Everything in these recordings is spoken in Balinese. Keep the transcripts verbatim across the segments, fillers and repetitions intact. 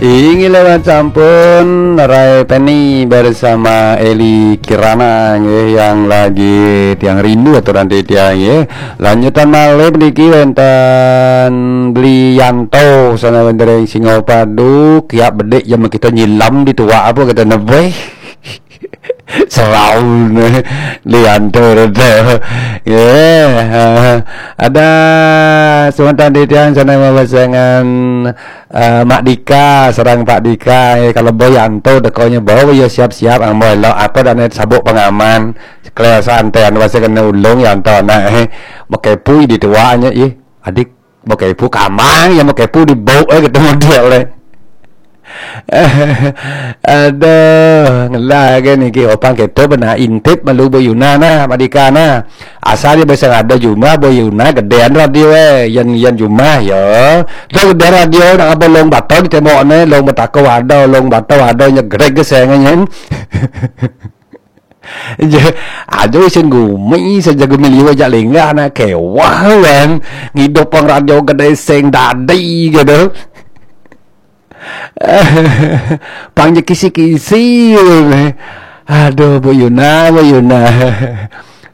Inggih lewat sampun Rai Penny bersama Eli Kirana nggih, yang lagi tiang rindu atau nanti tiang nggih. Lanjutan malih niki wenten Bli Yanto sana wenten ring Singapadu, kiap bedik jam kita nyilam di tuak apa kita nebeh. Serau ne Bli Yanto tu. Nggih. Ha. Ada semeton titiang sana mabasengan eh, Mak Dika, sareng Pak Dika, eh, kalau Boy Yanto dekonya bawa ya siap-siap ambo elok apa dane sabuk pengaman. Kelas santai anu bahasa kena ulung Yanto nak eh. Makai pui di tuanya ih. Adik makai pu kamang ya makai pu di bau eh ketemu dia oleh. Aduh, ngelah ke niki opang kita benar intip malu Boy Yuna nah, Mak Dika nah. Asal dia bisa ada jumah Boy Yuna gedean radio eh, yang yang jumah ya. Dah gede radio nak apa long bata di tembok ni, long betako ada, long bata ada nya gedeg ke sengenyen. Je, aja isin gumi saja gumi liwa jak linggah nak kewah kan. Ngidup pang radio gede seng dadi gitu. Pang je kisi-kisi. Aduh, Bu Yuna, Bu Yuna.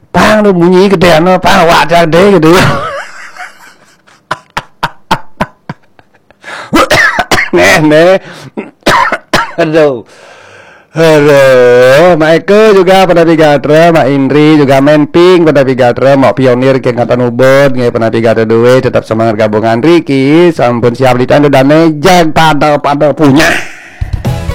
Pang tu bunyi gede ano, pang awak jadi gitu. Neh, neh. Aduh. Aduh, Mak Eko juga pada pigatra, Mak Indri juga Menping pada pigatra, Mak Pionir ke ngatan ubud, nggih pada pigatra duit, tetap semangat gabungan Riki, sampun siap ditandu dane, jag pada pada punya.